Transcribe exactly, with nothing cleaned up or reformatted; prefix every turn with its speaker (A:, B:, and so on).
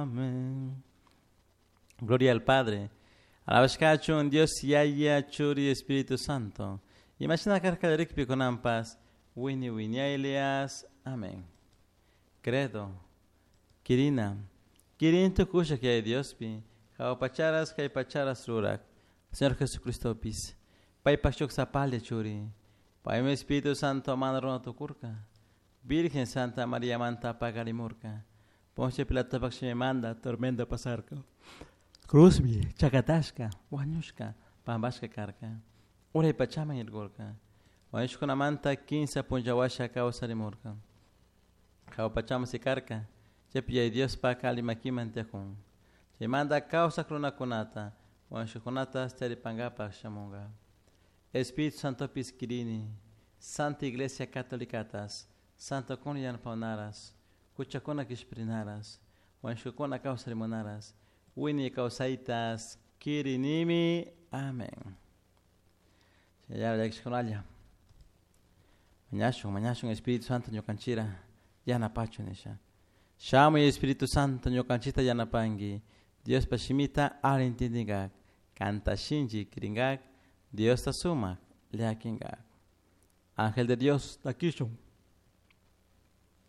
A: Amén. Gloria al Padre. Alabashkachun Dios Yaya Churi Espíritu Santo. Imashina karka kallarikpi kunanpas wini wiñaylias. Amén. Credo. Kirina. Kirin tukushak Yaya Diospi. Jahua pacharas kay pacharas rurak. Señor Jesucristopis. Paypak shuk sapalla churi. Paymi Espíritu Santo mana runa tukurka. Virgen Santa María manta paqarimurka. Poncio Pilatopak shimimanta tormenta pasarka. Cruzpi chakatashka, wañushka, pampashka karka. Uray pachaman yaykurka. Wañushkunamanta kinsa punlla washa kawsarimurka. Jahua pachaman sikarka. Chaypi Yaya Diospak alli makiman tiyakun. Chaymanta kawsak runakunata, wañushkakunata taripankapak shamunka. Espíritu Santopis kirini, Santa Iglesia Catolicatas, Santokuna yanapawnaras, huchakuna kishpirinaras, wañushkakuna kawsarimunaras, wiñay kawsaytas kirinimi. Amén. Llakishkunalla. Mañashun, mañashun Espíritu Santo ñukanchira yanapachun nisha. Shamuy Espíritu Santo ñukanchita yanapanki. Diospa shimita alli intindingak. Kanta shinchi kiringak. Diosta sumak llakinkak. Ángel de Dios, takishun.